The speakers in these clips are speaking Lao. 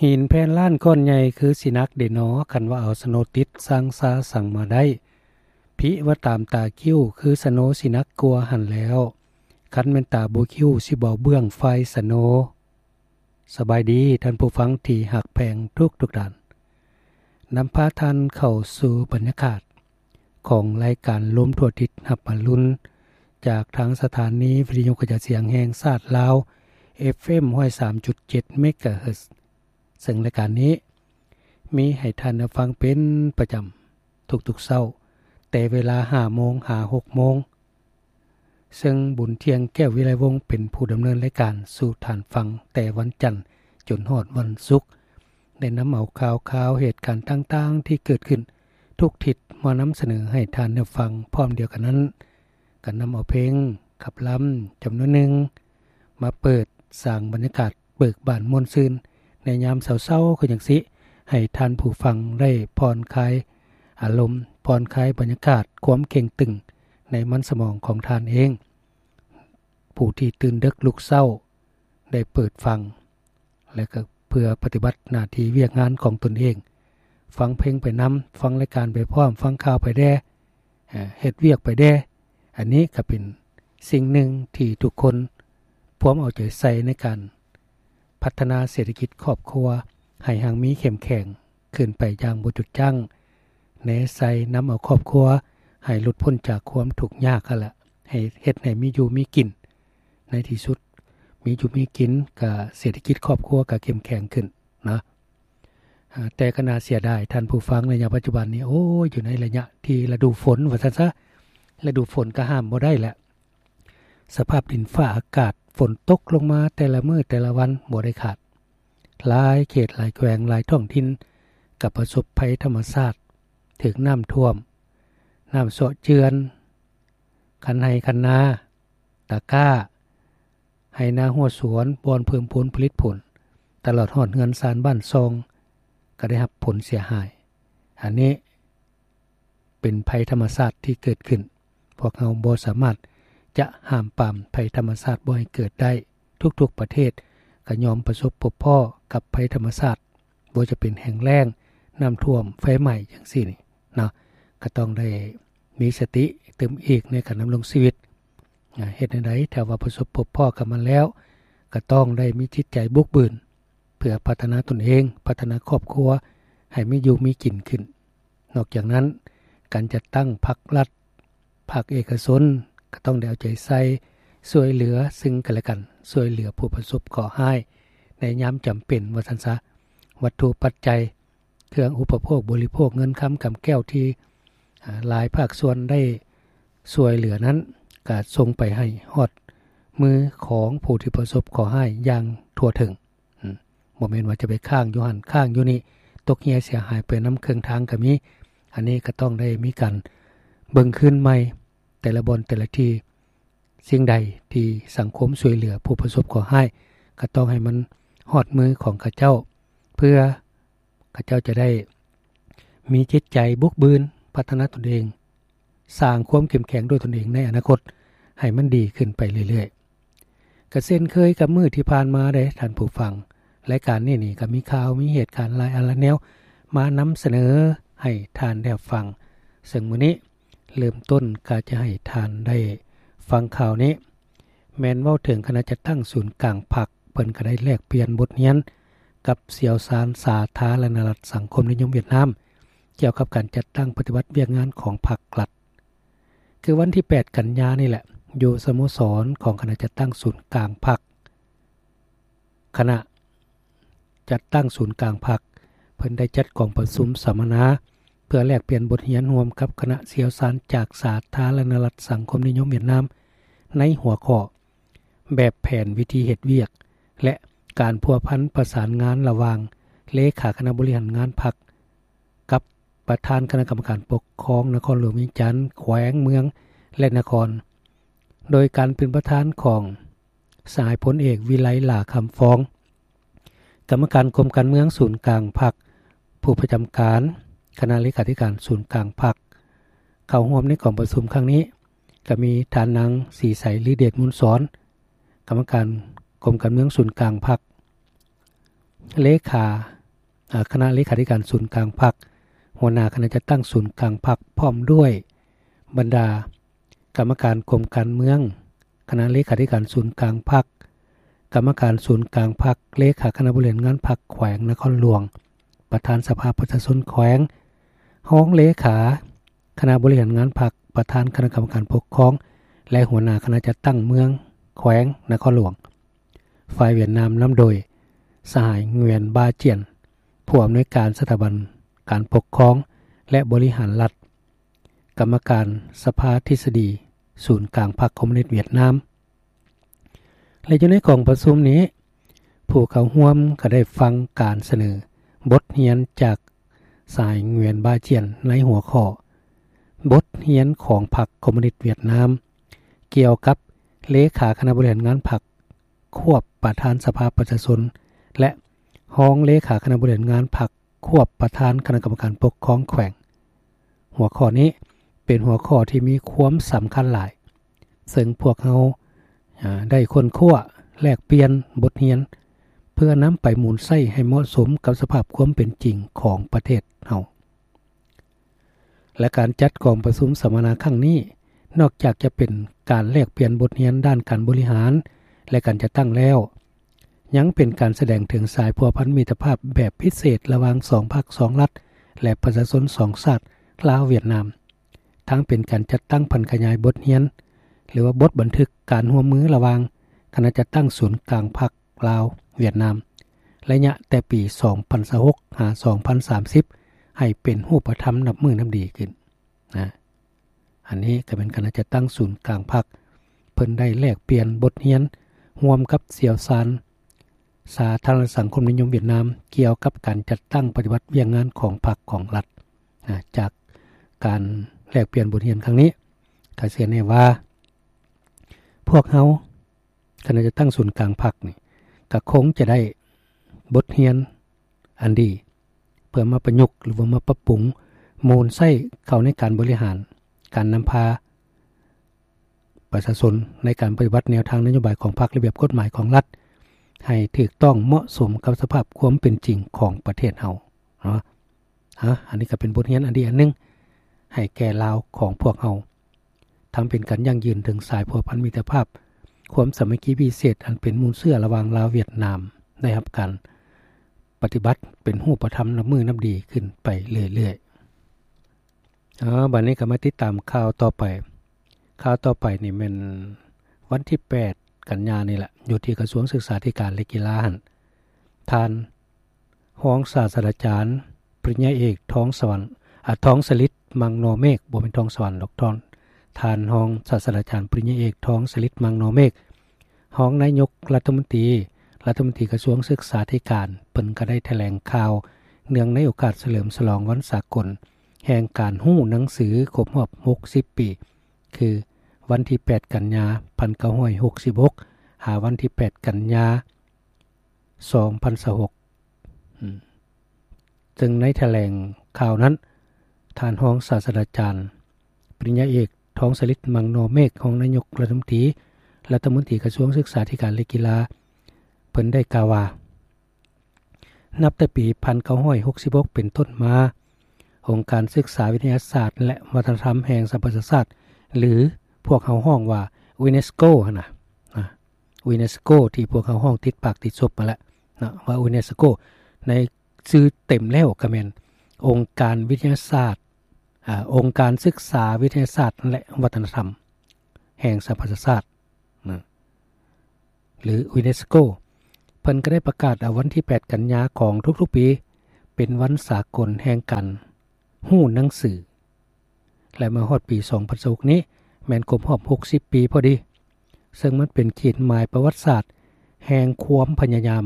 ຫີນແຜ່ນລ້ານກ້ອນໃຫຍ່ຄືຊິໜັກເດນໍ ຄັນວ່າເອົາສະໂນຕິດ ຊ່າງຊາສັ່ງມາໄດ້ ພິວ່າຕາມຕາຄິ້ວ ຄືສະໂນຊິໜັກກວ່າຫັ້ນແລ້ວ ຄັນແມ່ນຕາບໍ່ຄິ້ວ ຊິບໍ່ເບື້ອງໄຟສະໂນ. ສະບາຍດີທ່ານຜູ້ຟັງທີ່ຮັກແພງທຸກໆທ່ານ ນຳພາທ່ານເຂົ້າສູ່ບັນຍາກາດ ຂອງລາຍການລົມທົ່ວທິດຮັບອະລຸນ ຈາກທາງສະຖານີວິທະຍຸກະຈາຍສຽງແຫ່ງຊາດລາວ ເອັຟເອັມ ຮ້ອຍສາມຈຸດເຈັດ ເມກາເຮີດ ເຊິ່ງລາຍການນີ້ມີໃຫ້ທ່ານໄດ້ຟັງເປັນປະຈຳທຸກໆເຊົ້າ ແຕ່ເວລາຫ້າໂມງຫາຫົກໂມງ ເຊິ່ງບຸນທ່ຽງ ແກ້ວວິໄລວົງ ເປັນຜູ້ດຳເນີນລາຍການສູ່ທ່ານຟັງ ແຕ່ວັນຈັນຈົນຮອດວັນສຸກ ໄດ້ນຳເອົາຂ່າວຄາວເຫດການຕ່າງໆທີ່ເກີດຂຶ້ນທຸກທິດມານຳສະເໜີໃຫ້ທ່ານໄດ້ຟັງ. ພ້ອມດຽວກັນນັ້ນ ກໍນຳເອົາເພງຂັບລຳຈຳນວນໜຶ່ງ ມາເປີດສ້າງບັນຍາກາດເບີກບານມ່ວນຊື່ນ ໃນຍາມເຊົ້າໆຄືຈັ່ງຊີ້ ໃຫ້ທ່ານຜູ້ຟັງໄດ້ຜ່ອນຄາຍອາລົມ, ຜ່ອນຄາຍບັນຍາກາດຄວາມເຄັ່ງຕຶງໃນມັນສະໝອງຂອງທ່ານເອງ. ຜູ້ທີ່ຕື່ນເດິກລຸກເຊົ້າ ໄດ້ເປີດຟັງ ແລະ ກໍເພື່ອປະຕິບັດໜ້າທີ່ວຽກງານຂອງຕົນເອງ, ຟັງເພງໄປນຳ, ຟັງລາຍການໄປພ້ອມ, ຟັງຂ່າວໄປແດ່, ເຮັດວຽກໄປແດ່. ອັນນີ້ກໍເປັນສິ່ງໜຶ່ງທີ່ທຸກຄົນພວມເອົາໃຈໃສ່ໃນການພັດທະນາເສດຖະກິດຄອບຄົວໃຫ້ຮັ່ງມີເຂັ້ມແຂງ ຂຶ້ນໄປຢ່າງບໍ່ຢຸດຢັ້ງ, ແນໃສ່ນຳເອົາຄອບຄົວໃຫ້ຫຼຸດພົ້ນຈາກຄວາມທຸກຍາກຫັ້ນລະ, ໃຫ້ເຮັດໃຫ້ມີຢູ່ມີກິນ. ໃນທີ່ສຸດມີຢູ່ມີກິນ ກະເສດຖະກິດຄອບຄົວກະເຂັ້ມແຂງຂຶ້ນນະ. ອາ ແຕ່ກໍໜ້າເສຍດາຍທ່ານຜູ້ຟັງ ໄລຍະປັດຈຸບັນນີ້ ໂອ້ຍ ຢູ່ໃນໄລຍະທີ່ລະດູຝົນວ່າຊັ້ນຊະ, ລະດູຝົນກໍຫ້າມບໍ່ໄດ້ແຫຼະ. ສະພາບດິນຟ້າອາກາດ ຝົນຕົກລົງມາແຕ່ລະມື້ແຕ່ລະວັນບໍ່ໄດ້ຂາດ. ຫຼາຍເຂດຫຼາຍແຂວງຫຼາຍທ້ອງຖິ່ນກໍປະສົບໄພທຳມະຊາດ ຖືກນ້ຳຖ້ວມ, ນ້ຳເຊາະເຈື່ອນ ຄັນໄຮ່ຄັນນາ, ຕາກ້າ, ໄຮ່ນາຮົ້ວສວນ, ບ່ອນເພີ່ມຜົນຜະລິດຜົນ, ຕະຫຼອດຮອດເຮືອນຊານບ້ານຊ່ອງ ກໍໄດ້ຮັບຜົນເສຍຫາຍ. ອັນນີ້ ເປັນໄພທຳມະຊາດທີ່ເກີດຂຶ້ນ. ພວກເຮົາບໍ່ສາມາດຈະຫ້າມປາມໄພທຳມະຊາດບໍ່ໃຫ້ເກີດໄດ້. ທຸກໆປະເທດກໍຍ່ອມປະສົບພົບພໍ້ກັບໄພທຳມະຊາດ, ບໍ່ວ່າຈະເປັນແຫ້ງແລ້ງ, ນ້ຳຖ້ວມ, ໄຟໄໝ້ ຈັ່ງຊີ້ນີ້ເນາະ, ກໍຕ້ອງໄດ້ມີສະຕິຕື່ມອີກໃນການດຳລົງຊີວິດ. ເຮັດແນວໃດ ຖ້າວ່າປະສົບພົບພໍ້ກັບມັນແລ້ວ, ກໍຕ້ອງໄດ້ມີຈິດໃຈບຸກບືນ ເພື່ອພັດທະນາຕົນເອງ, ພັດທະນາຄອບຄົວໃຫ້ມີຢູ່ມີກິນຂຶ້ນ. ນອກຈາກນັ້ນ, ການຈັດຕັ້ງພາກລັດ, ພາກເອກະຊົນ ກໍຕ້ອງໄດ້ເອົາໃຈໃສ່ ຊ່ວຍເຫຼືອຊຶ່ງກັນແລະກັນ, ຊ່ວຍເຫຼືອຜູ້ປະສົບເຄາະຮ້າຍໃນຍາມຈຳເປັນ ວ່າຊັ້ນຊະ. ວັດຖຸປັດໄຈ, ເຄື່ອງອຸປະໂພກບໍລິໂພກ, ເງິນຄຳກຳແກ້ວທີ່ ອາ ຫຼາຍພາກສ່ວນໄດ້ຊ່ວຍເຫຼືອນັ້ນ ກໍສົ່ງໄປໃຫ້ຮອດມືຂອງຜູ້ທີ່ປະສົບເຄາະຮ້າຍຢ່າງທົ່ວເຖິງ. ອືມ ບໍ່ແມ່ນວ່າຈະໄປຄ້າງຢູ່ຫັ້ນຄ້າງຢູ່ນີ້, ຕົກເຫື່ອເສຍຫາຍໄປນຳເຄິ່ງທາງກໍມີ. ອັນນີ້ກໍຕ້ອງໄດ້ມີການເບິ່ງຄືນໃໝ່ ແຕ່ລະບ່ອນແຕ່ລະທີ່. ສິ່ງໃດທີ່ສັງຄົມຊ່ວຍເຫຼືອຜູ້ປະສົບເຄາະຮ້າຍ ກໍຕ້ອງໃຫ້ມັນຮອດມືຂອງເຂົາເຈົ້າ, ເພື່ອເຂົາເຈົ້າຈະໄດ້ມີຈິດໃຈບຸກບືນ, ພັດທະນາຕົນເອງ, ສ້າງຄວາມເຂັ້ມແຂງດ້ວຍຕົນເອງໃນອະນາຄົດໃຫ້ມັນດີຂຶ້ນໄປເລື້ອຍໆ. ກະເຊັ່ນເຄີຍກັບມື້ທີ່ຜ່ານມາເດ້ທ່ານຜູ້ຟັງ, ລາຍການນີ້ນີ້ກໍມີຂ່າວມີເຫດການຫຼາຍອັນຫຼາຍແນວມານຳສະເໜີໃຫ້ທ່ານໄດ້ຮັບຟັງ. ເຊິ່ງມື້ນີ້ເລີ່ມຕົ້ນກໍຈະໃຫ້ທ່ານໄດ້ຟັງຂ່າວນີ້ ແມ່ນເວົ້າເຖິງຄະນະຈັດຕັ້ງສູນກາງພັກ ເພິ່ນກໍໄດ້ແລກປ່ຽນບົດຮຽນກັບຊ່ຽວຊານສາທາລະນະລັດສັງຄົມນິຍົມຫວຽດນາມ ກ່ຽວກັບການຈັດຕັ້ງປະຕິບັດວຽກງານຂອງພັກລັດ. ຄືວັນທີແປດກັນຍານີ້ແຫຼະ, ຢູ່ສະໂມສອນຂອງຄະນະຈັດຕັ້ງສູນກາງພັກ, ຄະນະຈັດຕັ້ງສູນກາງພັກ ເພິ່ນໄດ້ຈັດກອງປະຊຸມສຳມະນາ ເພື່ອແລກປ່ຽນບົດຮຽນຮ່ວມກັບຄະນະຊ່ຽວຊານຈາກສາທາລະນະລັດສັງຄົມນິຍົມຫວຽດນາມ ໃນຫົວຂໍ້ ແບບແຜນວິທີເຮັດວຽກ ແລະ ການພົວພັນປະສານງານລະຫວ່າງເລຂາຄະນະບໍລິຫານງານພັກ ກັບປະທານຄະນະກຳມະການປົກຄອງນະຄອນຫຼວງວຽງຈັນ, ແຂວງ, ເມືອງ ແລະ ນະຄອນ, ໂດຍການເປັນປະທານຂອງສະຫາຍພົນເອກ ວິໄລ ຫຼ້າຄຳຟອງ, ກຳມະການກົມການເມືອງສູນກາງພັກ, ຜູ້ປະຈຳການຄະນະເລຂາທິການສູນກາງພັກ. ເຂົ້າຮ່ວມໃນກອງປະຊຸມຄັ້ງນີ້ ກໍມີທ່ານນາງ ສີໃສ ລືເດດມູນສອນ, ກຳມະການກົມການເມືອງສູນກາງພັກ, ເລຂາ ອາ ຄະນະເລຂາທິການສູນກາງພັກ, ຫົວໜ້າຄະນະຈັດຕັ້ງສູນກາງພັກ ພ້ອມດ້ວຍບັນດາກຳມະການກົມການເມືອງ, ຄະນະເລຂາທິການສູນກາງພັກ, ກຳມະການສູນກາງພັກ, ເລຂາຄະນະບໍລິຫານງານພັກແຂວງນະຄອນຫຼວງ, ປະທານສະພາປະຊາຊົນແຂວງ, ຮອງເລຂາຄະນະບໍລິຫານງານພັກ, ປະທານຄະນະກຳມະການປົກຄອງ ແລະ ຫົວໜ້າຄະນະຈັດຕັ້ງເມືອງ, ແຂວງນະຄອນຫຼວງ. ຝ່າຍຫວຽດນາມນຳໂດຍສະຫາຍ ງວຽນ ບາຈຽນ ຜູ້ອຳນວຍການສະຖາບັນການປົກຄອງ ແລະ ບໍລິຫານລັດ, ກຳມະການສະພາທິດສະດີສູນກາງພັກຄອມມູນິດຫວຽດນາມ ແລະ ຢູ່ໃນກອງປະຊຸມນີ້ ຜູ້ເຂົ້າຮ່ວມກໍໄດ້ຟັງການສະເໜີບົດຮຽນຈາກສະຫາຍ ງວຽນ ບາຈຽນ ໃນຫົວຂໍ້ ບົດຮຽນຂອງພັກຄອມມູນິດຫວຽດນາມ ກ່ຽວກັບເລຂາຄະນະບໍລິຫານງານພັກ ຄວບປະທານສະພາປະຊາຊົນ ແລະ ຮອງເລຂາຄະນະບໍລິຫານງານພັກ ຄວບປະທານຄະນະກຳມະການປົກຄອງແຂວງ. ຫົວຂໍ້ນີ້ເປັນຫົວຂໍ້ທີ່ມີຄວາມສຳຄັນຫຼາຍ, ເຊິ່ງພວກເຮົາ ອາ ໄດ້ຄົ້ນຄວ້າແລກປ່ຽນບົດຮຽນ ເພື່ອນຳໄປໝູນໃຊ້ໃຫ້ເໝາະສົມກັບສະພາບຄວາມເປັນຈິງຂອງປະເທດເຮົາ. ແລະ ການຈັດກອງປະຊຸມສຳມະນາຄັ້ງນີ້ ນອກຈາກຈະເປັນການແລກປ່ຽນບົດຮຽນດ້ານການບໍລິຫານ ແລະ ການຈັດຕັ້ງແລ້ວ, ຍັງເປັນການສະແດງເຖິງສາຍພົວພັນມິດຕະພາບແບບພິເສດລະຫວ່າງສອງພັກສອງລັດ ແລະ ປະຊາຊົນສອງຊາດ ລາວ-ຫວຽດນາມ, ທັງເປັນການຈັດຕັ້ງຜັນຂະຫຍາຍບົດຮຽນ ຫຼືວ່າບົດບັນທຶກການຮ່ວມມືລະຫວ່າງຄະນະຈັດຕັ້ງສູນກາງພັກ ລາວ-ຫວຽດນາມ ໄລຍະແຕ່ປີສອງພັນຊາວຫົກ ຫາ ສອງພັນສາມສິບ ໃຫ້ເປັນຮູບປະທຳນັບມື້ນັບດີຂຶ້ນນະ. ອັນນີ້ກໍແມ່ນຄະນະຈັດຕັ້ງສູນກາງພັກ ເພິ່ນໄດ້ແລກປ່ຽນບົດຮຽນຮ່ວມກັບຊ່ຽວຊານສາທາລະນະສັງຄົມນິຍົມຫວຽດນາມ ກ່ຽວກັບການຈັດຕັ້ງປະຕິບັດວຽກງານຂອງພັກຂອງລັດນະ. ຈາກການແລກປ່ຽນບົດຮຽນຄັ້ງນີ້ ກໍເຊື່ອແນ່ວ່າ ພວກເຮົາ ຄະນະຈັດຕັ້ງສູນກາງພັກນີ້ ກໍຄົງຈະໄດ້ບົດຮຽນອັນດີ ເພື່ອມາປະຍຸກ ຫຼືວ່າມາປັບປຸງ ໝູນໃຊ້ເຂົ້າໃນການບໍລິຫານ, ການນຳພາປະຊາຊົນ ໃນການປະຕິບັດແນວທາງນະໂຍບາຍຂອງພັກ, ລະບຽບກົດໝາຍຂອງລັດ ໃຫ້ຖືກຕ້ອງເໝາະສົມກັບສະພາບຄວາມເປັນຈິງຂອງປະເທດເຮົາເນາະ. ອາ ອັນນີ້ກໍເປັນບົດຮຽນອັນດີອັນໜຶ່ງ ໃຫ້ແກ່ລາວຂອງພວກເຮົາ. ທັງເປັນການຢັ້ງຢືນເຖິງສາຍພົວພັນມິດຕະພາບ, ຄວາມສາມັກຄີພິເສດອັນເປັນມູນເຊື້ອລະຫວ່າງລາວຫວຽດນາມ ໄດ້ຮັບການປະຕິບັດເປັນຮູບປະທຳນັບມື້ນັບດີຂຶ້ນໄປເລື້ອຍໆ. ເອົາ ບັດນີ້ກໍມາຕິດຕາມຂ່າວຕໍ່ໄປ. ຂ່າວຕໍ່ໄປນີ້ແມ່ນວັນທີແປດກັນຍານີ້ແຫຼະ, ຢູ່ທີ່ກະຊວງສຶກສາທິການ ແລະ ກິລາຫັ້ນ, ທ່ານ ຮອງສາດສະດາຈານ ປະລິນຍາເອກ ທອງສະຫວັນ ອາ ທອງສະລິດ ມັງນໍເມກ, ບໍ່ແມ່ນທອງສະຫວັນດອກ ທ່ານ ທ່ານຮອງສາດສະດາຈານ ປະລິນຍາເອກ ທອງສະລິດ ມັງນໍເມກ, ຮອງນາຍົກລັດຖະມົນຕີ, ລັດຖະມົນຕີກະຊວງສຶກສາທິການ, ເພິ່ນກໍໄດ້ຖະແຫຼງຂ່າວເນື່ອງໃນໂອກາດສະເຫຼີມສະຫຼອງວັນສາກົນແຫ່ງການຮູ້ໜັງສືຄົບຮອບຫົກສິບປີ, ຄື ວັນທີແປດກັນຍາ ພັນເກົ້າຮ້ອຍຫົກສິບຫົກ ຫາ ວັນທີແປດກັນຍາ ສອງພັນຊາວຫົກ ອືມ ເຊິ່ງໃນຖະແຫຼງຂ່າວນັ້ນ ທ່ານຮອງສາດສະດາຈານ ປະລິນຍາເອກ ທອງສະລິດ ມັງນໍເມກ, ຮອງນາຍົກລັດຖະມົນຕີ, ລັດຖະມົນຕີກະຊວງສຶກສາທິການ ແລະ ກິລາ, ເພິ່ນໄດ້ກ່າວວ່າ ນັບແຕ່ປີພັນເກົ້າຮ້ອຍຫົກສິບຫົກເປັນຕົ້ນມາ, ອົງການສຶກສາວິທະຍາສາດ ແລະ ວັດທະນະທຳແຫ່ງສະຫະປະຊາຊາດ ຫຼື ພວກເຮົາຮ້ອງວ່າ UNESCO ຫັ້ນນະ, ນະ, UNESCO ທີ່ພວກເຮົາຮ້ອງຕິດປາກຕິດສົບຫັ້ນແຫຼະນະ ວ່າ UNESCO ໃນຊື່ເຕັມແລ້ວກໍແມ່ນ ອົງການວິທະຍາສາດ, ອາ, ອົງການສຶກສາວິທະຍາສາດ ແລະ ວັດທະນະທຳແຫ່ງສະຫະປະຊາຊາດ. ນະ ຫຼື UNESCO ເພິ່ນກໍໄດ້ປະກາດເອົາວັນທີແປດກັນຍາຂອງທຸກໆປີ ເປັນວັນສາກົນແຫ່ງການຮູ້ໜັງສື ແລະ ມາຮອດປີສອງພັນຊາວຫົກນີ້ ແມ່ນຄົບຮອບຫົກສິບປີພໍດີ, ເຊິ່ງມັນເປັນຂີດໝາຍປະຫວັດສາດແຫ່ງຄວາມພະຍາຍາມ,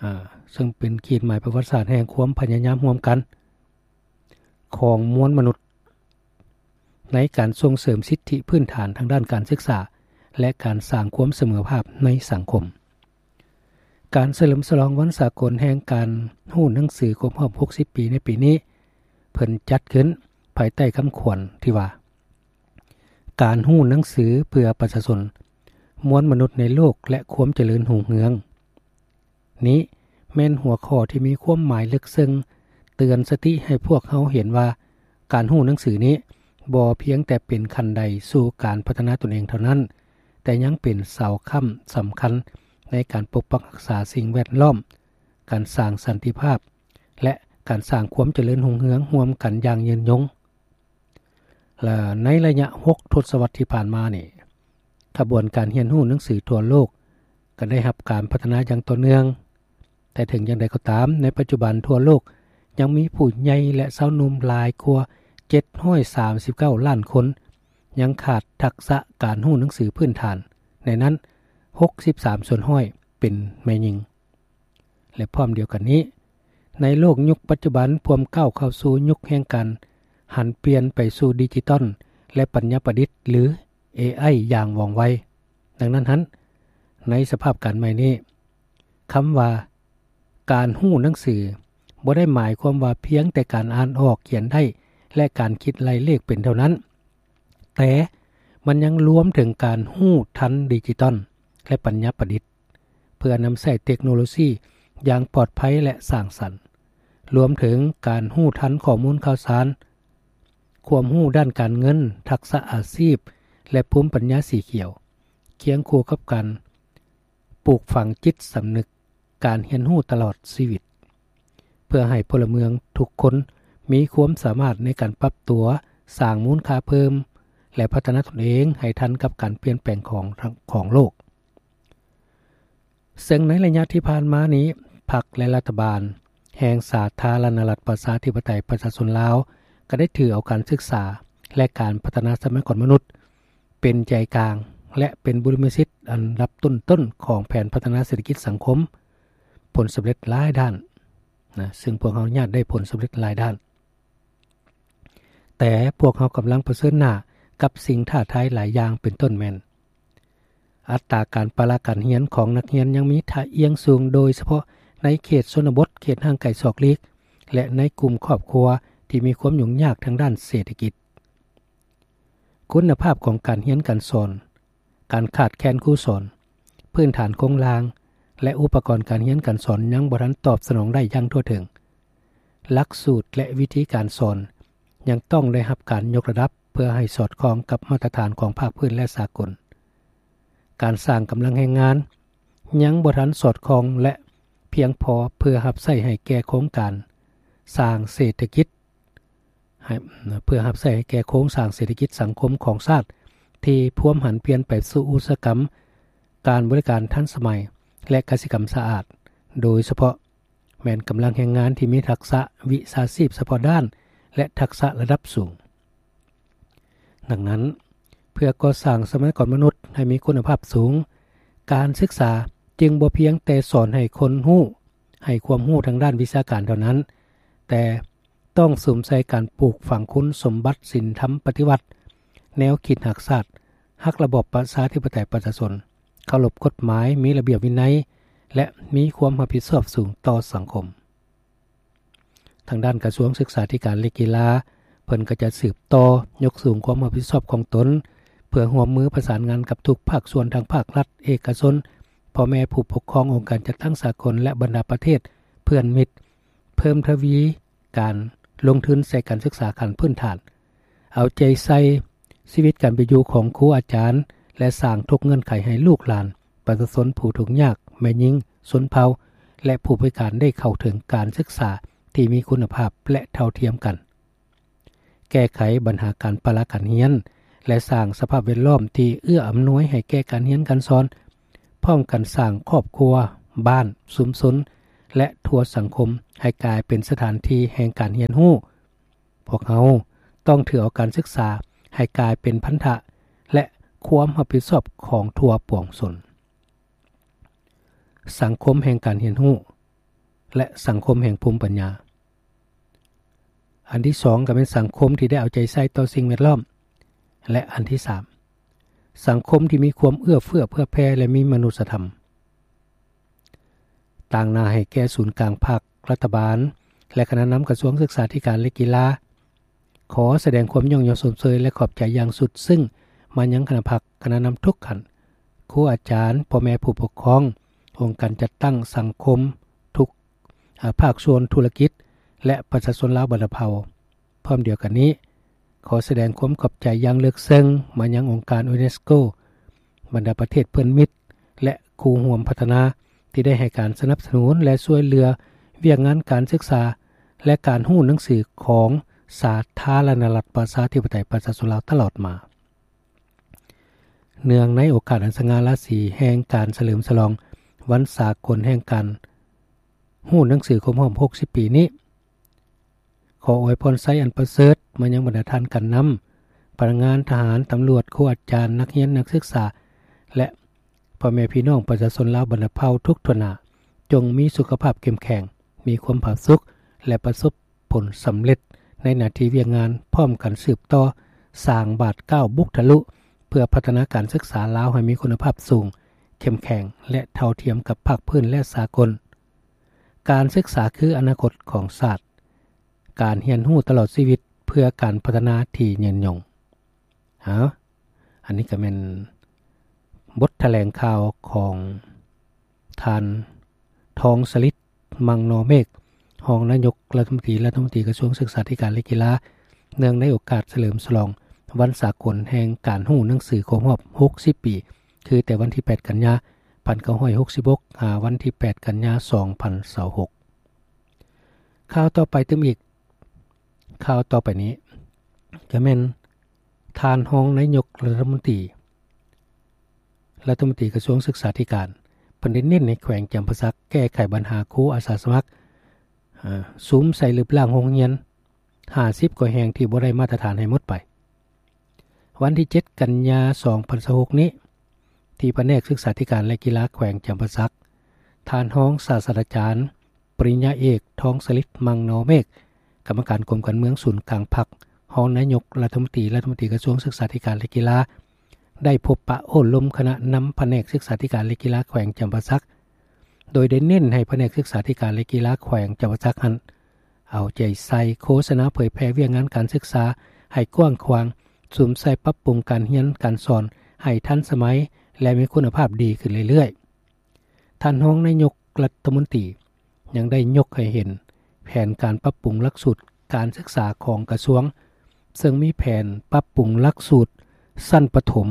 ອາ, ເຊິ່ງເປັນຂີດໝາຍປະຫວັດສາດແຫ່ງຄວາມພະຍາຍາມຮ່ວມກັນ ຂອງມວນມະນຸດ ໃນການສົ່ງເສີມສິດທິພື້ນຖານທາງດ້ານການສຶກສາ ແລະ ການສ້າງຄວາມສະເໝີພາບໃນສັງຄົມ. ການສະເຫຼີມສະຫຼອງວັນສາກົນແຫ່ງການຮູ້ໜັງສືຄົບຮອບຫົກສິບປີໃນປີນີ້ ເພິ່ນຈັດຂຶ້ນພາຍໃຕ້ຄຳຂວັນທີ່ວ່າ ການຮູ້ໜັງສືເພື່ອປະຊາຊົນ, ມວນມະນຸດໃນໂລກ ແລະ ຄວາມຈະເລີນຮຸ່ງເຮືອງ. ນີ້ ແມ່ນຫົວຂໍ້ທີ່ມີຄວາມໝາຍເລິກເຊິ່ງ ເຕືອນສະຕິໃຫ້ພວກເຮົາເຫັນວ່າ ການຮູ້ໜັງສືນີ້ບໍ່ພຽງແຕ່ເປັນຂັ້ນໄດສູ່ການພັດທະນາຕົນເອງເທົ່ານັ້ນ, ແຕ່ຍັງເປັນເສົາຄ້ຳສຳຄັນໃນການປົກປັກຮັກສາສິ່ງແວດລ້ອມ, ການສ້າງສັນຕິພາບ ແລະ ການສ້າງຄວາມຈະເລີນຮຸ່ງເຮືອງຮ່ວມກັນຢ່າງຍືນຍົງ. ແລະ ໃນໄລຍະຫົກທົດສະວັດທີ່ຜ່ານມານີ້, ຂະບວນການຮຽນຮູ້ໜັງສືທົ່ວໂລກກໍໄດ້ຮັບການພັດທະນາຢ່າງຕໍ່ເນື່ອງ. ແຕ່ເຖິງຢ່າງໃດກໍຕາມ, ໃນປັດຈຸບັນທົ່ວໂລກຍັງມີຜູ້ໃຫຍ່ ແລະ ຊາວໜຸ່ມຫຼາຍກວ່າເຈັດຮ້ອຍສາມສິບເກົ້າລ້ານຄົນ ຍັງຂາດທັກສະການຮູ້ໜັງສືພື້ນຖານ, ໃນນັ້ນຫົກສິບສາມສ່ວນຮ້ອຍເປັນແມ່ຍິງ. ແລະ ພ້ອມດຽວກັນນີ້, ໃນໂລກຍຸກປັດຈຸບັນພວມກ້າວເຂົ້າສູ່ຍຸກແຫ່ງການຫັນປ່ຽນໄປສູ່ດິຈິຕອນ ແລະ ປັນຍາປະດິດ ຫຼື ເອໄອ ຢ່າງວ່ອງໄວ. ດັ່ງນັ້ນຫັ້ນ, ໃນສະພາບການໃໝ່ນີ້, ຄຳວ່າການຮູ້ໜັງສືບໍ່ໄດ້ໝາຍຄວາມວ່າພຽງແຕ່ການອ່ານອອກ, ຂຽນໄດ້ ແລະ ການຄິດໄລ່ເລກເປັນເທົ່ານັ້ນ, ແຕ່ມັນຍັງລວມເຖິງການຮູ້ທັນດິຈິຕອນ ແລະ ປັນຍາປະດິດ ເພື່ອນຳໃຊ້ເຕັກໂນໂລຊີຢ່າງປອດໄພ ແລະ ສ້າງສັນ, ລວມເຖິງການຮູ້ທັນຂໍ້ມູນຂ່າວສານ, ຄວາມຮູ້ດ້ານການເງິນ, ທັກສະອາຊີບ ແລະ ພູມປັນຍາສີຂຽວ, ຄຽງຄູ່ກັບການ ປູກຝັງຈິດສຳນຶກການຮຽນຮູ້ຕະຫຼອດຊີວິດ, ເພື່ອໃຫ້ພົນລະເມືອງທຸກຄົນມີຄວາມສາມາດໃນການປັບຕົວ, ສ້າງມູນຄ່າເພີ່ມ ແລະ ພັດທະນາຕົນເອງໃຫ້ທັນກັບການປ່ຽນແປງຂອງ ຂອງໂລກ. ເຊິ່ງໃນໄລຍະທີ່ຜ່ານມານີ້, ພັກ ແລະ ລັດຖະບານແຫ່ງສາທາລະນະລັດປະຊາທິປະໄຕປະຊາຊົນລາວ ກໍໄດ້ຖືເອົາການສຶກສາ ແລະ ການພັດທະນາຊັບພະຍາກອນມະນຸດ ເປັນໃຈກາງ ແລະ ເປັນບຸລິມະສິດອັນດັບຕົ້ນໆຂອງແຜນພັດທະນາເສດຖະກິດສັງຄົມ, ຜົນສຳເລັດຫຼາຍດ້ານນະ, ເຊິ່ງພວກເຮົາຍາດໄດ້ຜົນສຳເລັດຫຼາຍດ້ານ. ແຕ່ພວກເຮົາກຳລັງປະເຊີນໜ້າກັບສິ່ງທ້າທາຍຫຼາຍຢ່າງ, ເປັນຕົ້ນແມ່ນ ອັດຕາການປະລະການຮຽນຂອງນັກຮຽນຍັງມີທ່າອ່ຽງສູງ, ໂດຍສະເພາະໃນເຂດຊົນນະບົດ, ເຂດຫ່າງໄກສອກຫຼີກ ແລະ ໃນກຸ່ມຄອບຄົວທີ່ມີຄວາມຫຍຸ້ງຍາກທາງດ້ານເສດຖະກິດ. ຄຸນນະພາບຂອງການຮຽນການສອນ, ການຂາດແຄນຄູສອນ, ພື້ນຖານໂຄງລ່າງ ແລະ ອຸປະກອນການຮຽນການສອນຍັງບໍ່ທັນຕອບສະໜອງໄດ້ຢ່າງທົ່ວເຖິງ. ຫຼັກສູດ ແລະ ວິທີການສອນຍັງຕ້ອງໄດ້ຮັບການຍົກລະດັບເພື່ອໃຫ້ສອດຄ່ອງກັບມາດຕະຖານຂອງພາກພື້ນ ແລະ ສາກົນ. ການສ້າງກຳລັງແຮງງານຍັງບໍ່ທັນສອດຄ່ອງ ແລະ ພຽງພໍເພື່ອຮັບໃຊ້ໃຫ້ແກ່ໂຄງການສ້າງເສດຖະກິດ ໃຫ້ ເພື່ອຮັບໃຊ້ໃຫ້ແກ່ໂຄງສ້າງເສດຖະກິດສັງຄົມຂອງຊາດ ທີ່ພວມຫັນປ່ຽນໄປສູ່ອຸດສາຫະກຳການບໍລິການທັນສະໄໝ ແລະ ກະສິກຳສະອາດ, ໂດຍສະເພາະແມ່ນກຳລັງແຮງງານທີ່ມີທັກສະວິຊາຊີບສະເພາະດ້ານ ແລະ ທັກສະລະດັບສູງ. ດັ່ງນັ້ນ, ເພື່ອກໍ່ສ້າງຊັບພະຍາກອນມະນຸດໃຫ້ມີຄຸນນະພາບສູງ, ການສຶກສາຈຶ່ງບໍ່ພຽງແຕ່ສອນໃຫ້ຄົນຮູ້, ໃຫ້ຄວາມຮູ້ທາງດ້ານວິຊາການເທົ່ານັ້ນ, ແຕ່ ຕ້ອງສຸມໃສ່ການປູກຝັງຄຸນສົມບັດສິນທຳປະຕິວັດ, ແນວຄິດຮັກຊາດ, ຮັກລະບອບປະຊາທິປະໄຕປະຊາຊົນ, ເຄົາລົບກົດໝາຍ, ມີລະບຽບວິໄນ ແລະ ມີຄວາມຮັບຜິດຊອບສູງຕໍ່ສັງຄົມ. ທາງດ້ານກະຊວງສຶກສາທິການ ແລະ ກິລາ, ເພິ່ນກໍຈະສືບຕໍ່ຍົກສູງຄວາມຮັບຜິດຊອບຂອງຕົນ ເພື່ອຮ່ວມມືປະສານງານກັບທຸກພາກສ່ວນ ທັງພາກລັດ, ເອກະຊົນ, ພໍ່ແມ່ຜູ້ປົກຄອງ, ອົງການຈັດຕັ້ງສາກົນ ແລະ ບັນດາປະເທດເພື່ອນມິດ, ເພີ່ມທະວີ ການລົງທຶນໃສ່ການສຶກສາຂັ້ນພື້ນຖານ, ເອົາໃຈໃສ່ຊີວິດການເປັນຢູ່ຂອງຄູອາຈານ ແລະ ສ້າງທຸກເງື່ອນໄຂໃຫ້ລູກຫຼານປະຊາຊົນຜູ້ທຸກຍາກ, ແມ່ຍິງ, ຊົນເຜົ່າ ແລະ ຜູ້ພິການໄດ້ເຂົ້າເຖິງການສຶກສາທີ່ມີຄຸນນະພາບ ແລະ ເທົ່າທຽມກັນ. ແກ້ໄຂບັນຫາການປະລະການຮຽນ ແລະ ສ້າງສະພາບແວດລ້ອມທີ່ເອື້ອອຳນວຍໃຫ້ແກ່ການຮຽນການສອນ, ພ້ອມກັນສ້າງຄອບຄົວ, ບ້ານ, ຊຸມຊົນ ແລະ ທົ່ວສັງຄົມໃຫ້ກາຍເປັນສະຖານທີ່ແຫ່ງການຮຽນຮູ້. ພວກເຮົາຕ້ອງຖືເອົາການສຶກສາໃຫ້ກາຍເປັນພັນທະ ແລະ ຄວາມຮັບຜິດຊອບຂອງທົ່ວປວງຊົນ. ສັງຄົມແຫ່ງການຮຽນຮູ້ ແລະ ສັງຄົມແຫ່ງພູມປັນຍາ. ອັນທີສອງ ກໍແມ່ນສັງຄົມທີ່ໄດ້ເອົາໃຈໃສ່ຕໍ່ສິ່ງແວດລ້ອມ ແລະ ອັນທີສາມ ສັງຄົມທີ່ມີຄວາມເອື້ອເຟື້ອເຜື່ອແຜ່ ແລະ ມີມະນຸດສະທຳ. ຕາງໜ້າໃຫ້ແກ່ສູນກາງພັກ, ລັດຖະບານ ແລະ ຄະນະນຳກະຊວງສຶກສາທິການ ແລະ ກິລາ ຂໍສະແດງຄວາມຍ້ອງຍໍຊົມເຊີຍ ແລະ ຂອບໃຈຢ່າງສຸດຊຶ້ງມາຍັງຄະນະພັກ, ຄະນະນຳທຸກຂັ້ນ, ຄູອາຈານ, ພໍ່ແມ່ຜູ້ປົກຄອງ, ອົງການຈັດຕັ້ງສັງຄົມທຸກ ພາກສ່ວນທຸລະກິດ ແລະ ປະຊາຊົນລາວບັນດາເຜົ່າ. ພ້ອມດຽວກັນນີ້, ຂໍສະແດງຄວາມຂອບໃຈຢ່າງເລິກເຊິ່ງມາຍັງອົງການຢູເນສໂກ, ບັນດາປະເທດເພື່ອນມິດ ແລະ ຄູ່ຮ່ວມພັດທະນາ ທີ່ໄດ້ໃຫ້ການສະໜັບສະໜູນ ແລະ ຊ່ວຍເຫຼືອວຽກງານການສຶກສາ ແລະ ການຮູ້ໜັງສືຂອງສາທາລະນະລັດ ປະຊາທິປະໄຕ ປະຊາຊົນລາວຕະຫຼອດມາ. ເນື່ອງໃນໂອກາດອັນສະຫງ່າລາສີແຫ່ງການສະເຫຼີມສະຫຼອງວັນສາກົນແຫ່ງການຮູ້ໜັງສືຄົບຮອບຫົກສິບປີນີ້, ຂໍອວຍພອນໄຊອັນປະເສີດມາຍັງບັນດາທ່ານການນຳ, ພະນັກງານ, ທະຫານ, ຕຳຫຼວດ, ຄູອາຈານ, ນັກຮຽນ, ນັກສຶກສາ ແລະ ພໍ່ແມ່ພີ່ນ້ອງປະຊາຊົນລາວບັນດາເຜົ່າທຸກທົ່ວໜ້າ, ຈົ່ງມີສຸຂະພາບເຂັ້ມແຂງ, ມີຄວາມຜາສຸກ ແລະ ປະສົບ ຜົນສຳເລັດໃນໜ້າທີ່ວຽກງານ, ພ້ອມກັນສືບຕໍ່ສ້າງບາດກ້າວບຸກທະລຸ ເພື່ອພັດທະນາການສຶກສາລາວໃຫ້ມີຄຸນນະພາບສູງ, ເຂັ້ມແຂງ ແລະ ເທົ່າທຽມກັບພາກພື້ນ ແລະ ສາກົນ. ການສຶກສາຄືອະນາຄົດຂອງຊາດ, ການຮຽນຮູ້ຕະຫຼອດຊີວິດເພື່ອການພັດທະນາທີ່ຍືນຍົງ. ເອົາ, ອັນນີ້ກໍແມ່ນບົດຖະແຫຼງຂ່າວຂອງທ່ານ ທອງສະລິດ ມັງນໍເມກ, ຮອງນາຍົກລັດຖະມົນຕີ, ລັດຖະມົນຕີກະຊວງສຶກສາທິການ ແລະ ກິລາ, ເນື່ອງໃນໂອກາດສະເຫຼີມສະຫຼອງວັນສາກົນແຫ່ງການຮູ້ໜັງສືຄົບຮອບຫົກສິບປີ, ຄືແຕ່ວັນທີແປດ ກັນຍາ ພັນເກົ້າຮ້ອຍຫົກສິບຫົກ ຫາວັນທີແປດ ກັນຍາ ສອງພັນຊາວຫົກ. ຂ່າວຕໍ່ໄປຕື່ມອີກ, ຂ່າວຕໍ່ໄປນີ້ກະແມ່ນ ທ່ານຮອງນາຍົກລັດຖະມົນຕີ, ລັດຖະມົນຕີກະຊວງສຶກສາທິການ ເພິ່ນໄດ້ເນັ້ນໃຫ້ແຂວງຈຳປາສັກແກ້ໄຂບັນຫາຄູອາສາສະໝັກ, ເອີ່, ສຸມໃສ່ລຶບລ້າງໂຮງຮຽນຫ້າສິບກວ່າແຫ່ງທີ່ບໍ່ໄດ້ມາດຕະຖານໃຫ້ໝົດໄປ. ວັນທີເຈັດ ກັນຍາ ສອງພັນຊາວຫົກນີ້, ທີ່ພະແນກສຶກສາທິການ ແລະ ກິລາແຂວງຈຳປາສັກ, ທ່ານຮອງສາດສະດາຈານ ປະລິນຍາເອກ ທອງສະລິດ ມັງນໍເມກ, ກຳມະການກົມການເມືອງສູນກາງພັກ, ຮອງນາຍົກລັດຖະມົນຕີ, ລັດຖະມົນຕີກະຊວງສຶກສາທິການ ແລະ ກິລາ, ໄດ້ພົບປະໂອ້ລົມຄະນະນຳພະແນກສຶກສາທິການ ແລະ ກິລາແຂວງຈຳປາສັກ, ໂດຍໄດ້ເນັ້ນໃຫ້ພະແນກສຶກສາທິການ ແລະ ກິລາແຂວງຈຳປາສັກຫັ້ນ ເອົາໃຈໃສ່ໂຄສະນາເຜີຍແຜ່ວຽກງານການສຶກສາໃຫ້ກວ້າງຂວາງ, ສຸມໃສ່ປັບປຸງການຮຽນການສອນໃຫ້ທັນສະໄໝ ແລະ ມີຄຸນນະພາບດີຂຶ້ນເລື້ອຍໆ. ທ່ານຮອງນາຍົກລັດຖະມົນຕີຍັງໄດ້ຍົກໃຫ້ເຫັນແຜນການປັບປຸງຫຼັກສູດການສຶກສາຂອງກະຊວງ, ເຊິ່ງມີແຜນປັບປຸງຫຼັກສູດຊັ້ນປະຖົມ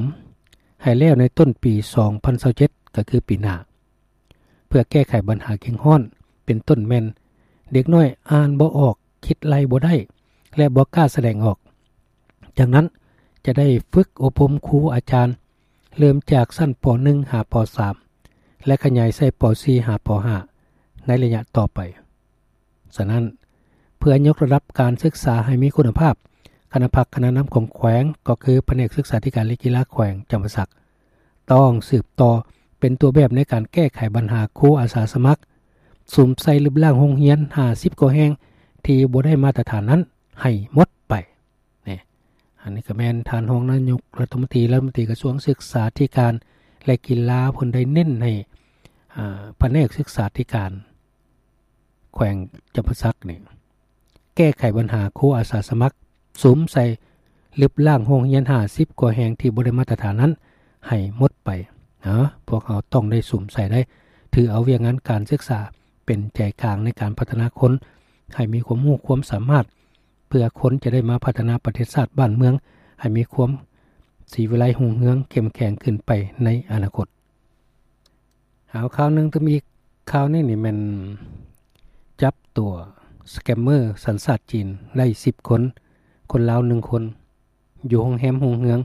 ໃຫ້ແລ້ວໃນຕົ້ນປີ ສອງພັນຊາວເຈັດ ກໍຄືປີໜ້າ ເພື່ອແກ້ໄຂບັນຫາເຄັ່ງຮ້ອນ ເປັນຕົ້ນແມ່ນເດັກນ້ອຍອ່ານບໍ່ອອກ, ຄິດໄລ່ບໍ່ໄດ້ ແລະ ບໍ່ກ້າສະແດງອອກ. ດັ່ງນັ້ນ, ຈະໄດ້ຝຶກອົບຮົມຄູອາຈານ ເລີ່ມຈາກຊັ້ນ ປໍໜຶ່ງ ຫາ ປໍສາມ ແລະ ຂະຫຍາຍໃສ່ ປໍສີ່ ຫາ ປໍຫ້າ ໃນໄລຍະຕໍ່ໄປ. ສະນັ້ນ, ເພື່ອຍົກລະດັບການສຶກສາໃຫ້ມີຄຸນນະພາບ, ຄະນະພັກຄະນະນຳຂອງແຂວງ, ກໍຄືພະແນກສຶກສາທິການ ແລະ ກິລາແຂວງຈຳປາສັກ, ຕ້ອງສືບຕໍ່ເປັນຕົວແບບໃນການແກ້ໄຂບັນຫາຄູອາສາສະໝັກ, ສຸມໃສ່ລຶບລ້າງໂຮງຮຽນຫ້າສິບກວ່າແຫ່ງທີ່ບໍ່ໄດ້ມາດຕະຖານນັ້ນໃຫ້ໝົດໄປ. ນີ້, ອັນນີ້ກໍແມ່ນທ່ານຮອງນາຍົກລັດຖະມົນຕີ, ລັດຖະມົນຕີກະຊວງສຶກສາທິການ ແລະ ກິລາ ເພິ່ນໄດ້ເນັ້ນໃຫ້, ອາ, ພະແນກສຶກສາທິການ ແຂວງຈຳປາສັກນີ້ ແກ້ໄຂບັນຫາຄູອາສາສະໝັກ ສຸມໃສ່ລຶບລ້າງໂຮງຮຽນຫ້າສິບກວ່າແຫ່ງທີ່ບໍ່ໄດ້ມາດຕະຖານນັ້ນໃຫ້ໝົດໄປ. ເນາະ, ພວກເຮົາຕ້ອງໄດ້ສຸມໃສ່ໄດ້, ຖືເອົາວຽກງານການສຶກສາເປັນໃຈກາງໃນການພັດທະນາຄົນໃຫ້ມີຄວາມຮູ້ຄວາມສາມາດ, ເພື່ອຄົນຈະໄດ້ມາພັດທະນາປະເທດຊາດບ້ານເມືອງໃຫ້ມີຄວາມສີວິໄລຮຸ່ງເຮືອງເຂັ້ມແຂງຂຶ້ນໄປໃນອະນາຄົດ. ເອົາ, ຂ່າວໜຶ່ງຕື່ມອີກ. ຂ່າວນີ້ນີ້ແມ່ນຈັບຕົວສະແກມເມີສັນຊາດຈີນໄດ້ສິບຄົນ, ຄົນລາວໜຶ່ງຄົນ, ຢູ່ໂຮງແຮມຮຸ່ງເຮືອງ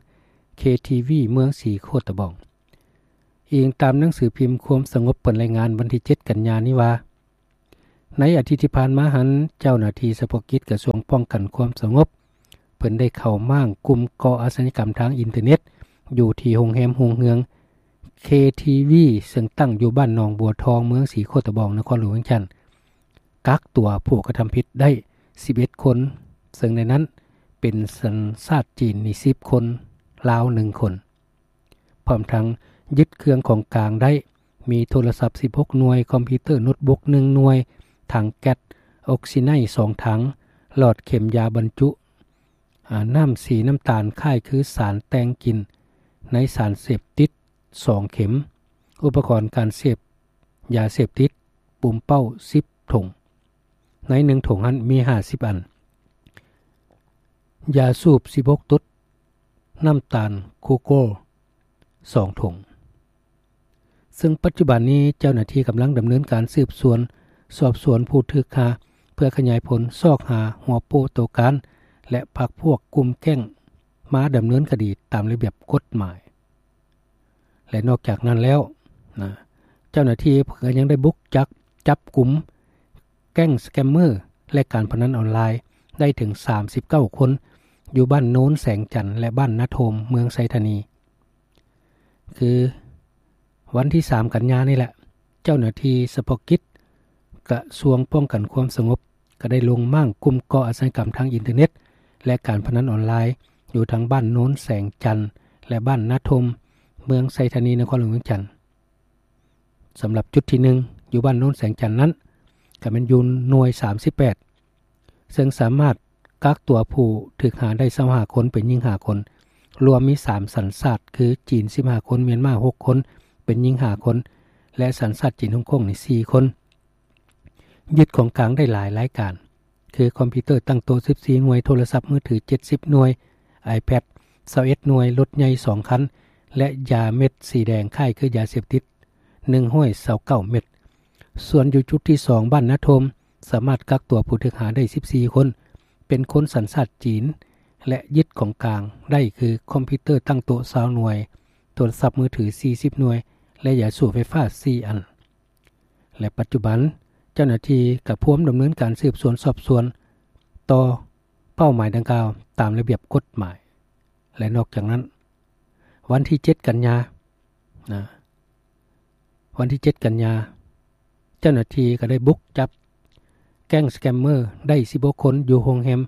ເຄທີວີ ເມືອງສີໂຄດຕະບອງ. ອີງຕາມໜັງສືພິມຄວາມສະຫງົບ ເປີດລາຍງານວັນທີເຈັດ ກັນຍານີ້ວ່າ, ໃນອາທິດທີ່ຜ່ານມາຫັ້ນ, ເຈົ້າໜ້າທີ່ສະເພາະກິດກະຊວງປ້ອງກັນຄວາມສະຫງົບ ເພິ່ນໄດ້ເຂົ້າມ້າງກຸ່ມກໍ່ອາຊະຍາກຳທາງອິນເຕີເນັດ ຢູ່ທີ່ໂຮງແຮມຮຸ່ງເຮືອງ ເຄທີວີ ເຊິ່ງຕັ້ງຢູ່ບ້ານໜອງບົວທອງ ເມືອງສີໂຄດຕະບອງ ນະຄອນຫຼວງວຽງຈັນ, ກັກຕົວຜູ້ກະທຳຜິດໄດ້ສິບເອັດຄົນ, ເຊິ່ງໃນນັ້ນເປັນສັນຊາດຈີນນີ້ສິບຄົນ, ລາວໜຶ່ງຄົນ. ພ້ອມທັງຍຶດເຄື່ອງຂອງກາງໄດ້ ມີໂທລະສັບສິບຫົກໜ່ວຍ, ຄອມພິວເຕີໂນດບຸກໜຶ່ງໜ່ວຍ, ຖັງແກັສອົກຊີໄນສອງຖັງ, ຫຼອດເຂັມຢາບັນຈຸ ອາ ນ້ຳສີນ້ຳຕານຄ້າຍຄືສານແຕ່ງກິນໃນສານເສບຕິດສອງເຂັມ, ອຸປະກອນການເສບຢາເສບຕິດ, ປຸມເປົ້າສິບຖົງ. ໃນໜຶ່ງຖົງຫັ້ນມີຫ້າສິບອັນ, ຢາສູບສິບຫົກຕຸດ, ນ້ຳຕານໂກໂກ້ສອງຖົງ. ເຊິ່ງປັດຈຸບັນນີ້ເຈົ້າໜ້າທີ່ກຳລັງດຳເນີນການສືບສວນສອບສວນຜູ້ຖືກຫາ ເພື່ອຂະຫຍາຍຜົນຊອກຫາຫົວໂປ້ໂຕການ ແລະ ພັກພວກກຸ່ມແກ້ງມາດຳເນີນຄະດີຕາມລະບຽບກົດໝາຍ. ແລະ ນອກຈາກນັ້ນແລ້ວນະ ເຈົ້າໜ້າທີ່ກໍຍັງໄດ້ບຸກຈັບ ຈັບກຸມແກ້ງສະແກມເມີ ແລະ ການພະນັນອອນລາຍໄດ້ເຖິງສາມສິບເກົ້າຄົນ ຢູ່ບ້ານໂນນແສງຈັນ ແລະ ບ້ານນາໂທມ ເມືອງໄຊທານີ. ຄືວັນທີສາມກັນຍານີ້ແຫຼະ ເຈົ້າໜ້າທີ່ສະເພາະກິດກະຊວງປ້ອງກັນຄວາມສະຫງົບ ກໍໄດ້ລົງມ້າງກຸ່ມກໍ່ອາຊະຍາກຳທາງອິນເຕີເນັດ ແລະ ການພະນັນອອນລາຍ ຢູ່ທາງບ້ານໂນນແສງຈັນ ແລະ ບ້ານນາໂທມ ເມືອງໄຊທານີ ນະຄອນຫຼວງວຽງຈັນ. ສຳລັບຈຸດທີໜຶ່ງ ຢູ່ບ້ານໂນນແສງຈັນນັ້ນ ກໍແມ່ນຢູ່ໜ່ວຍສາມສິບແປດ ເຊິ່ງສາມາດກັກຕົວຜູ້ຖືກຫາໄດ້ຊາວຫ້າຄົນ ເປັນຍິງຫ້າຄົນ, ລວມມີສາມສັນຊາດ ຄື ຈີນສິບຫ້າຄົນ, ມຽນມາຫົກຄົນ ເປັນຍິງຫ້າຄົນ ແລະ ສັນຊາດຈີນຮົງກົງນີ້ສີ່ຄົນ. ຍຶດຂອງກາງໄດ້ຫຼາຍລາຍການ ຄືຄອມພິວເຕີຕັ້ງໂຕະສິບສີ່ໜ່ວຍ, ໂທລະສັບມືຖືເຈັດສິບໜ່ວຍ, ໄອແພດຊາວເອັດໜ່ວຍ, ລົດໃຫຍ່ສອງຄັນ ແລະ ຢາເມັດສີແດງຄ້າຍຄືຢາເສບຕິດໜຶ່ງຮ້ອຍຊາວເກົ້າເມັດ. ສ່ວນຢູ່ຈຸດທີສອງ ບ້ານນາໂທມ ສາມາດກັກຕົວຜູ້ຖືກຫາໄດ້ສິບສີ່ຄົນ ເປັນຄົນສັນຊາດຈີນ ແລະ ຍຶດຂອງກາງໄດ້ຄືຄອມພິວເຕີຕັ້ງໂຕະຊາວໜ່ວຍ, ໂທລະສັບມືຖືສີ່ສິບໜ່ວຍ ແລະ ຢາສູບໄຟຟ້າສີ່ອັນ. ແລະ ປັດຈຸບັນເຈົ້າໜ້າທີ່ກະພວມດຳເນີນການສືບສວນສອບສວນຕໍ່ເປົ້າໝາຍດັ່ງກ່າວຕາມລະບຽບກົດໝາຍ. ແລະ ນອກຈາກນັ້ນ ວັນທີເຈັດກັນຍານະ ວັນທີເຈັດກັນຍາ ເຈົ້າໜ້າທີ່ກໍໄດ້ບຸກຈັບແກ້ງສະແກມເມີໄດ້ສິບຫົກຄົນ ຢູ່ໂຮງແຮມ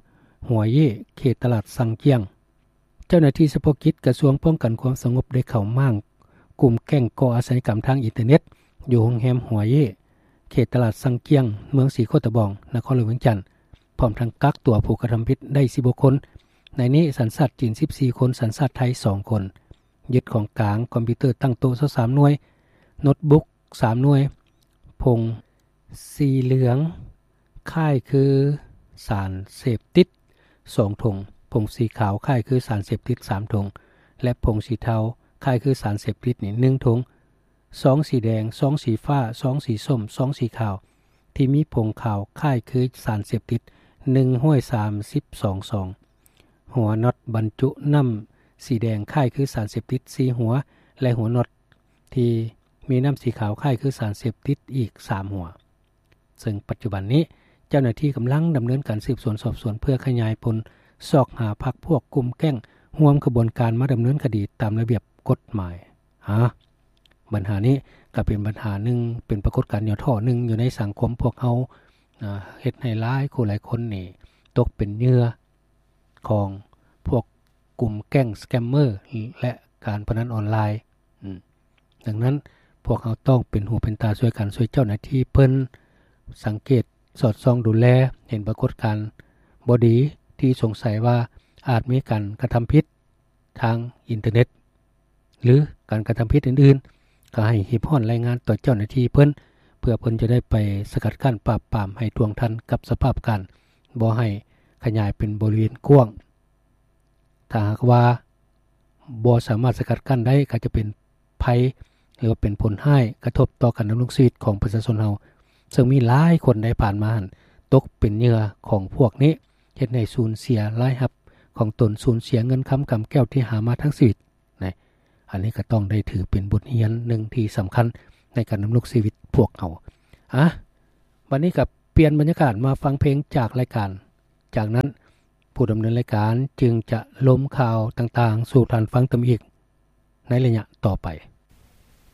ຫົວເຢ້ ເຂດຕະຫຼາດຊັງຈຽງ. ເຈົ້າໜ້າທີ່ສະເພາະກິດກະຊວງປ້ອງກັນຄວາມສະຫງົບໄດ້ເຂົ້າມ້າງກຸ່ມແກ້ງກໍ່ອາຊະຍາກຳທາງອິນເຕີເນັດ ຢູ່ໂຮງແຮມຫົວເຢ້ ເຂດຕະຫຼາດຊັງຈຽງ ເມືອງສີໂຄດຕະບອງ ນະຄອນຫຼວງວຽງຈັນ, ພ້ອມທັງກັກຕົວຜູ້ກະທຳຜິດໄດ້ສິບຫົກຄົນ, ໃນນີ້ສັນຊາດຈີນສິບສີ່ຄົນ, ສັນຊາດໄທສອງຄົນ. ຍຶດຂອງກາງ ຄອມພິວເຕີຕັ້ງໂຕະຊາວສາມໜ່ວຍ, ໂນ້ດບຸກສາມໜ່ວຍ, ຜົງສີເຫຼືອງຄ້າຍຄືສານເສບຕິດສອງຖົງ, ຜົງສີຂາວຄ້າຍຄືສານເສບຕິດສາມຖົງ ແລະ ຜົງສີເທົາຄ້າຍຄືສານເສບຕິດນີ້ໜຶ່ງຖົງ, ຊອງສີແດງ, ຊອງສີຟ້າ, ຊອງສີສົ້ມ, ຊອງສີຂາວ ທີ່ມີຜົງຂາວຄ້າຍຄືສານເສບຕິດໜຶ່ງຮ້ອຍສາມສິບສອງຊອງ, ຫົວນັອດບັນຈຸນ້ຳສີແດງຄ້າຍຄືສານເສບຕິດສີ່ຫົວ ແລະ ຫົວນັອດທີ່ມີນ້ຳສີຂາວຄ້າຍຄືສານເສບຕິດອີກສາມຫົວ. ເຊິ່ງປັດຈຸບັນນີ້ເຈົ້າໜ້າທີ່ກຳລັງດຳເນີນການສືບສວນສອບສວນ ເພື່ອຂະຫຍາຍຜົນຊອກຫາພັກພວກກຸ່ມແກ້ງຮ່ວມຂະບວນການມາດຳເນີນຄະດີຕາມລະບຽບກົດໝາຍ. ຫາ ບັນຫານີ້ກໍເປັນບັນຫາໜຶ່ງ, ເປັນປາກົດການຫຍໍ້ທໍ້ໜຶ່ງຢູ່ໃນສັງຄົມພວກເຮົາ, ເຮັດໃຫ້ຫຼາຍຄູ່ຫຼາຍຄົນນີ້ຕົກເປັນເຫຍື່ອຂອງພວກກຸ່ມແກ້ງສະແກມເມີ ແລະ ການພະນັນອອນລາຍ. ອືມ ດັ່ງນັ້ນ ພວກເຮົາຕ້ອງເປັນຫູເປັນຕາຊ່ວຍກັນ, ຊ່ວຍເຈົ້າໜ້າທີ່ເພິ່ນສັງເກດສອດສ່ອງດູແລ, ເຫັນປາກົດການບໍ່ດີທີ່ສົງໄສວ່າອາດມີການກະທຳຜິດ ທາງອິນເຕີເນັດ ຫຼື ການກະທຳຜິດອື່ນໆ, ກໍໃຫ້ຮີບຮ້ອນລາຍງານຕໍ່ເຈົ້າໜ້າທີ່ເພິ່ນ, ເພື່ອເພິ່ນຈະໄດ້ໄປສະກັດກັ້ນປາບປາມໃຫ້ທ່ວງທັນກັບສະພາບການ, ບໍ່ໃຫ້ຂະຫຍາຍເປັນບໍລິເວນກວ້າງ. ຖ້າຫາກວ່າບໍ່ສາມາດສະກັດກັ້ນໄດ້, ກໍຈະເປັນໄພ ຫຼືວ່າເປັນຜົນຮ້າຍກະທົບຕໍ່ການດຳລົງຊີວິດຂອງປະຊາຊົນເຮົາ, ເຊິ່ງມີຫຼາຍຄົນໃນຜ່ານມາຫັ້ນ ຕົກເປັນເຫຍື່ອຂອງພວກນີ້, ເຮັດໃຫ້ສູນເສຍລາຍຮັບຂອງຕົນ, ສູນເສຍເງິນຄຳກຳແກ້ວທີ່ຫາມາທັງຊີວິດນະ. ອັນນີ້ກໍຕ້ອງໄດ້ຖືເປັນບົດຮຽນໜຶ່ງທີ່ສຳຄັນໃນການດຳລົງຊີວິດພວກເຮົາ. ອາ ບັດນີ້ກໍປ່ຽນບັນຍາກາດມາຟັງເພງຈາກລາຍການ. ຈາກນັ້ນ ຜູ້ດຳເນີນລາຍການຈຶ່ງຈະລົມຂ່າວຕ່າງໆສູ່ທ່ານຟັງຕື່ມອີກໃນໄລຍະຕໍ່ໄປ.